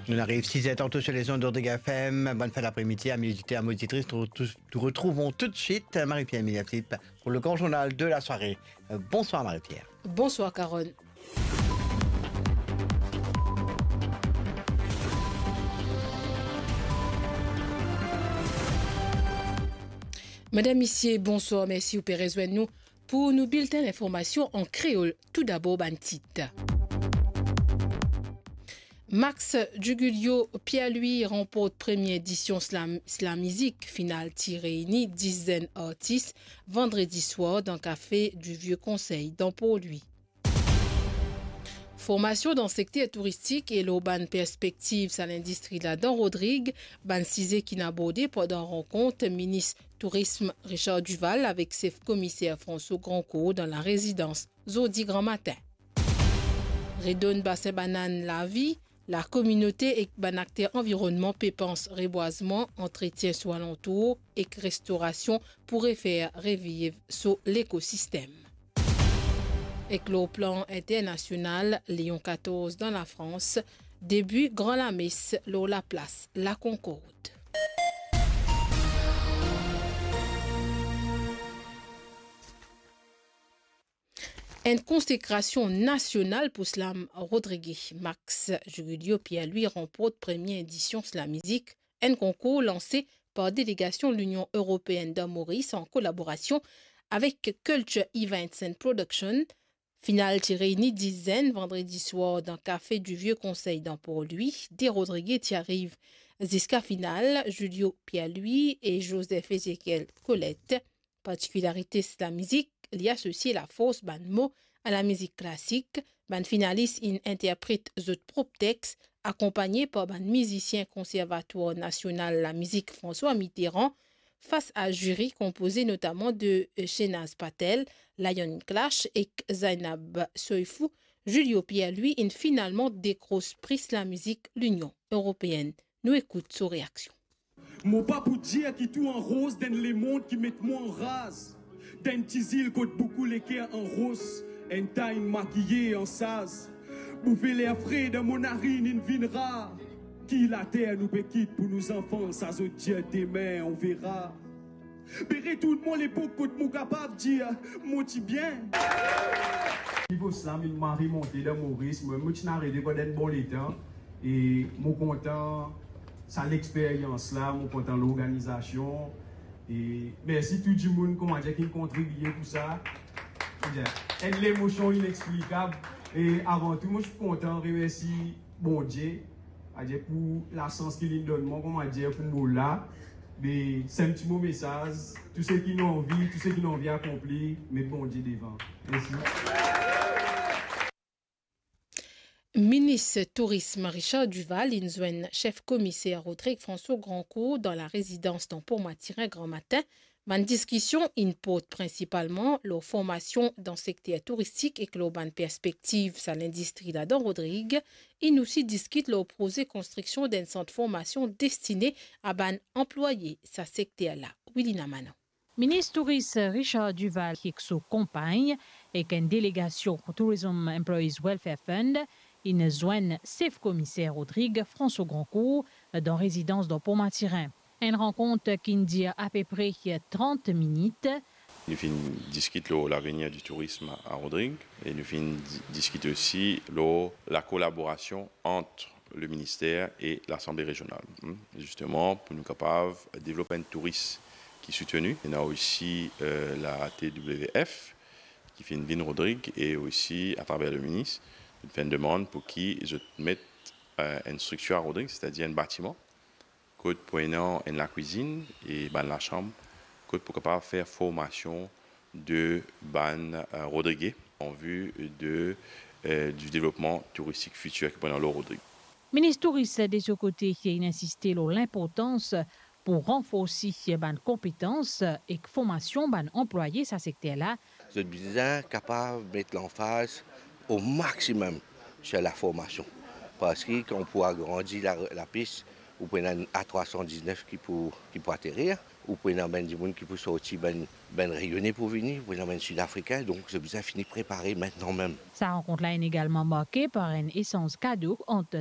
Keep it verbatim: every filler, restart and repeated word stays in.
Nous arrivons six heures tantôt sur les ondes d'Ordrigue F M. Bonne fin d'après-midi, amis auditeurs, amis auditrices. Nous retrou-, nous retrouvons tout de suite Marie-Pierre Milia-Philippe pour le grand journal de la soirée. Euh, bonsoir Marie-Pierre. Bonsoir Carole. Madam, misie, bonswar, mersi ou pe rezwenn nou pou nou bilten linformasion an kreol. Toudabor, bann tit. Max Jugulio Pierre-Louis ranport premie edisyon Slam, Slam Mizik. Final ti reyni dis zenn artis vandredi swar dan kafe di Vieux Conseil dan Port-Louis. Formasion dan sekter touristik e lor bann perspektiv sa lindistri la dan Rodrig, bann size ki'nn aborde pandan rankont minis tourism Richard Duval avek sef komiser François Grandcourt dan larezidans zordi gramatin. Redonn Basin Banann lavi, lakominote ek bann akter anvironnman pe pans rebwazman, antretien so alantour ek restorasion pou refer reviv so lekosistem. Ek lor plan internasional, Léon quatorze dan Lafrans, debi gran lames lor laplas Lakonkord. Enn konsekrasion nasional pou Slam Rodrig. Max Jugulio Pierre-Louis ranport premie edision Slam Mizik, enn konkour lanse par delegasion Linion Eropeenn dan Moris an kolaborasion avek Culture Events and Production. Final ti reyni dis zenn vandredi swar dan kafe di Vieux Conseil dan Port-Louis. De Rodrige ti ariv ziska final, Julio Pierre-Louis e Joseph Ezekiel Colette. Partikilarite Slam Mizik, li asosie lafors bann mo a lamizik klasik. Bann finalis inn interpret zot prop tex, akonpagne par bann mizisien Konservatwar Nasional Lamizik François Mitterrand, fas a ziri konpoze notaman de Shenaz Patel, Lion Clash ek Zainab Soifou. Julio Pierre-Louis inn finalman dekros pri Slam Mizik Linion Eropeenn. Nou ekout so reaksion. Mo pa pou dir ki tou an roz, dan enn lemond ki met mwa an raz, dan enn ti zil kot boukou leker an ros, enn ta inn makiye an saz. Bouve ler fre dan mo narinn inn vinn rar. Ki later nou pe kit pou nou zanfan, sa zot dir demin, on verra. Be retourn mo lepok kot mo kapav dir mo ti bien. Nivo slam inn mari monte dan Moris, mwa mo ti ena rede pandan enn bon letan. E mo kontan sa lexperyans la, mo kontan lorganizasion. E mersi tou dimoun, kouma dir, ki kontribie pou sa. Enn lemosion inexplikab. E avan tou, mo ti kontan remersi Bondie, adir pou lasans ki linn donn mwa, kouma dir, pou mo la. Me se enn ti mo mesaz, tou seki nou anvi, tou seki nou anvi akonpli, met Bondie devan. Mersi. Minis Tourism Richard Duval inn zwenn sef komiser Rodrig François Grandcourt dan larezidans dan Port Mathurin gramatin. Bann diskision inn port prinsipalman lor formasion dan sekter touristik ek lor bann perspektiv sa lindistri la dan Rodrig. Inn osi diskit lor proze konstriksion d'enn sant formasion destine a bann anplwaye sa sekter la. Wilina Manon. Minis Touris Richard Duval ek so konpagn, ek enn delegasion Tourism Employees Welfare Fund, inn zwenn sef komiser Rodrig François Grandcourt dan rezidans dan Port Mathurin. Enn rankont ki'nn dir apepre trant minit. Nou finn diskit lor lavenir di tourism a Rodrig e nou finn di-, diskit osi lor lakolaborasion ant le minister e Lasanble Rezional, hmm, zisteman pou nou kapav devlop enn touris ki souteni. Ena osi, euh, la T W F ki finn vinn Rodrig e osi atraver le minis, nou finn demann pou ki zot met, euh, enn striktir a Rodrig, setadir enn batiman, kot pou ena enn lakwizinn e bann lasam, kot pou kapav fer formasion de bann, euh, Rodrige an vi de, euh, di devlopman touristik fitir ki pou ena lor Rodrig. Minis Touris, de so kote, inn insiste lor linportans pou ranforsi bann konpetans ek formasion bann anplwaye sa sekter la. Zot bizin kapav met lanfaz o maximum sur la formasion. Parski kan ou pou agrandi la, lapis, ou pou ena enn A trwa san diznef ki pou, ki pou aterir, ou pou ena bann dimoun ki pou sorti, bann, bann Reyone pou vini, ou pou ena bann Sidafrikin, donk zot bizin fini prepare mintnan mem. Sa rankont la inn egalman marke par enn esanz kado ant